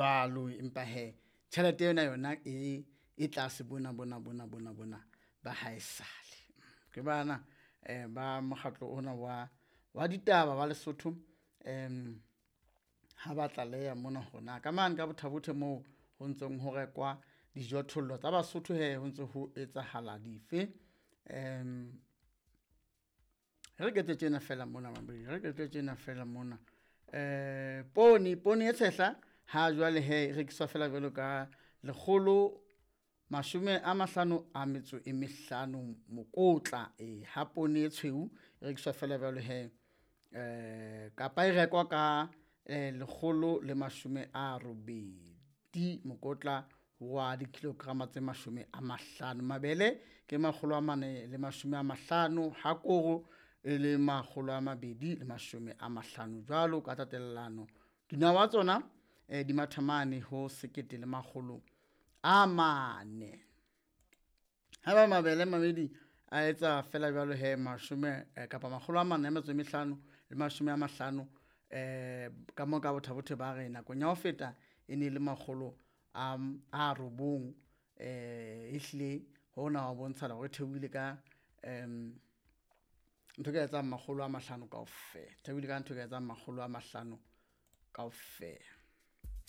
Jwalo empa hee tjhelete ena yona e e tlase bona bona bona bona bona ba haesale. Ke bana ba mokgatlo ona wa ditaba wa Lesotho ha ba tlaleha mona hore na ka mane ka Botha Bothe moo ho ntseng ho rekwa dijothollo tsa Basotho hee ho ntse ho etsahala dife. Re ke etse tjena fela mona re ke etse tjena fela mona. Poone e tshehla ha jwale hee e rekiswa fela jwalo ka 155 mokotla, ha poone e tshweu e rekiswa fela jwalo hee kapa e rekwa ka 180 mokotla wa dikilograma tse 50. Mabele ke 450 ha koro e le 250 jwalo ka tatellano. Dinawa tsona di matha mane ho 1400. Haeba mabele mamedi a etsa fela jwalo hee mashome kapa 405 le 50 ka moo ka Botha Bothe ba re nakong ya ho feta e ne le 900, ehlile hona ho bontsha hore e theohile ka ntho e ka etsang 500 kaofela, theohile ka ntho e ka etsang 500 kaofela.